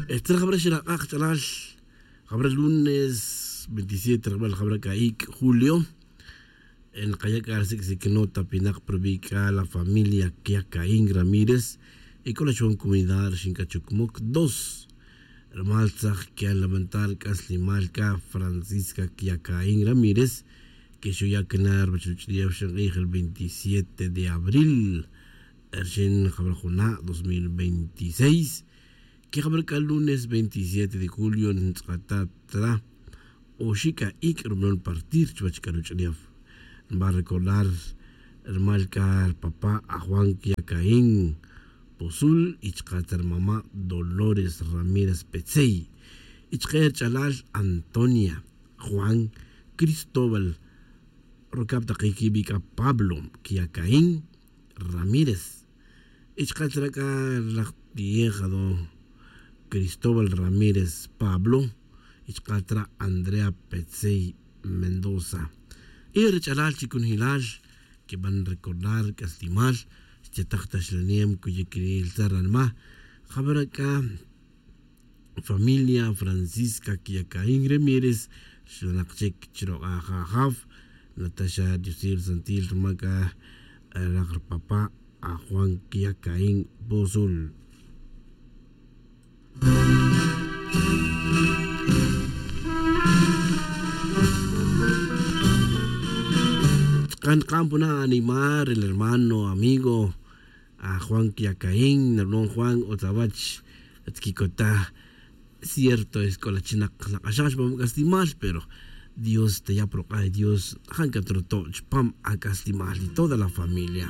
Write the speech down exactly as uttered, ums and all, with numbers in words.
Tzra jabra xilak'ak ch'alal jabra lunes veintisiete rajbal jabra k'a ik' julio. Nkaya' k'a ri sik'sik nota pinak pa rubi' k'a la familia kiacaín ramírez. Y k'o la chuwan comunidad ri xink'achukmuk dos rumal tzaj kian lamentar k'aslimal k'a francisca kiacaín ramírez. Que xuya' kina ruwech ruch'ulef xink'ij el veintisiete de abril rixin jabra juna' dos mil veintiséis. Que jabra k'a lunes veintisiete de julio ntz'akata' tra oxi' k'a ik' rumelon partir chuwech k'a ruch'ulef. Nba recordar rumal k'a rupapa' aj juan kiacaín pozul y chuka' ta rumama' dolores ramírez petzey y chuka' ruch'alal antonia, juan, cristóbal, rucab taqi quibi' c'a pablo quiacaín ramírez. Y chuka' chira' c'a ri laj tiejado cristóbal ramírez pablo. Y chuka' chira' andrea petzey mendoza. Y ri ch'alal chi cunjilal quiban recordar c'aslimal xtitaj taxlanem cuyic ri ltzar ranma. Jabara' c'a familia francisca quiacaín ramírez xlanak chic chirok'aj ajaf. Nataxa diosil santil ruma c'a rak rupapa' aj juan quiacaín pozul. Chkan chkan puna' anima ri hermano amigo aj juan quiacaín narulon juan otzawach. Tquicota cierto es c'o la chinak la k'axaj xbam c'aslimal pero dios taya' pa ruk'a' dios. Jan c'a truto' chpam ac'aslimal y toda la familia.